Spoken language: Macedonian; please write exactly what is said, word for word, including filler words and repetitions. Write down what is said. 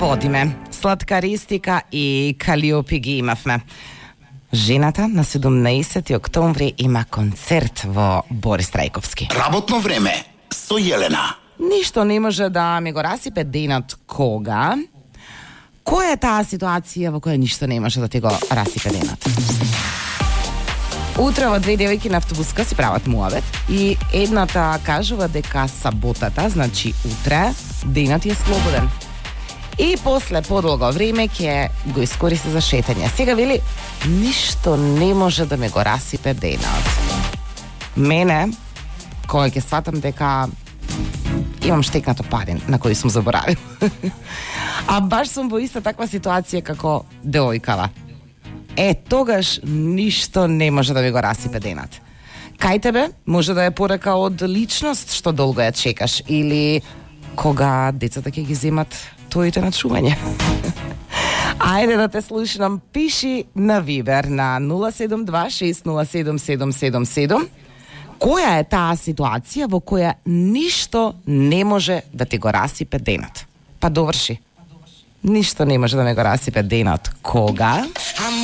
Водиме. Сладкаристика и Калиопи ги имавме. Жената на седумнаесети октомври има концерт во Борис Трајковски. Работно време со Јелена. Ништо не може да ми го расипе денот кога. Која е таа ситуација во која ништо не може да ти го расипе денот? Утре во две девојки на автобуска си прават муавет и едната кажува дека саботата, значи утре, денот е слободен. И после подолго време ќе го искористи за шетање. Сега вели, ништо не може да ме го расипе денот. Мене, кога ќе сватам дека имам штекнато пари на кој сум заборавил. А баш сум во иста таква ситуација како девојкава. Е, тогаш ништо не може да ми го расипе денот. Кај тебе може да е порека од личност што долго ја чекаш или кога децата ќе ги земат твоите на чување. Ајде да те слушнам, пиши на Вибер на нула седум два шест нула седум седум седум седум. Која е таа ситуација во која ништо не може да ти го расипе денот? Па доврши. Ништо не може да ме го расипе денот. Кога?